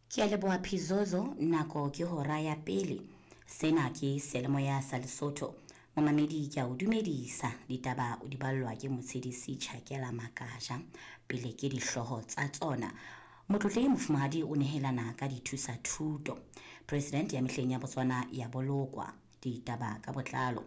Ke a leboha Phizozo, nako ke hora ya pele. Sena ke Seyalemoya sa Lesotho. Momamedi ke a o dumedisa, ditaba o di ballwa ke Motshedisi Chakela Makaja. Pele ke dihlooho tsa tsona. Motlotlehi Mofumahadi o nehelana ka dithusa thuto. President ya mehleng ya Botswana ya bolokwa. Ditaba ka botlalo.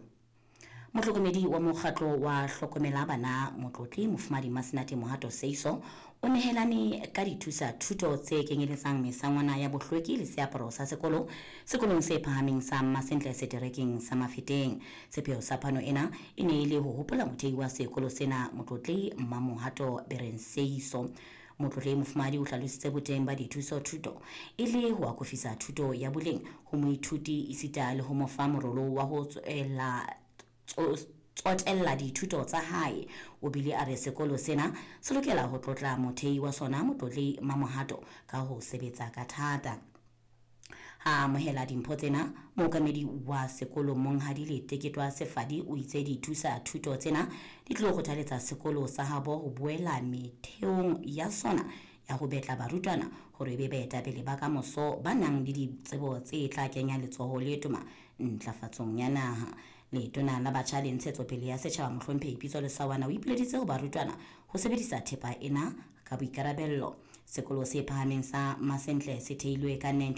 Mohlokomedi wa mokgatlo wa Hlokomela Bana Motlotli Mofumadi Masenate Mohato Seiso o nehelane ka dithusa thuto tse kenyeletsang mesangwana ya bohlweki le seaparo sa sekolo sekolong se phahameng sa Mmasentle seterekeng sa Mafeteng. Sepheo sa phano ena e ne e le ho hopola mothei wa sekolo sena Motlotli Mmamohato Bereng Seiso. Motlotlehi Mofumahadi o hlalositse boteng ba dithuso thuto e le ho akofisa thuto ya boleng ho moithuti esita le ho mo fa morolo wa ho tswela tsotella dithuto tsa hae. O bile a re sekolo sena se lokela ho tlotla mothei wa sona Motlotlehi Mamohato ka ho sebetsa ka thata. Ha a amohela dimpho tsena, mookamedi wa sekolo Monghadi Leteketwa Sefadi o itse dithusa thuto tsena di tlo kgothaletsa sekolo sa habo ho boela metheong ya sona ya ho betla barutwana hore e be baetapele ba kamoso ba nang le ditsebo tse tla kenya letsoho le toma ntlafatsong ya naha. Letona la Batjha le Ntshetsopele ya Setjhaba Mohlomphehi Pitso Lesawana o ipileditse ho barutwana ho sebedisa thepa ena ka boikarabello. Sekolo se phahameng sa Masentle se theilwe ka 19.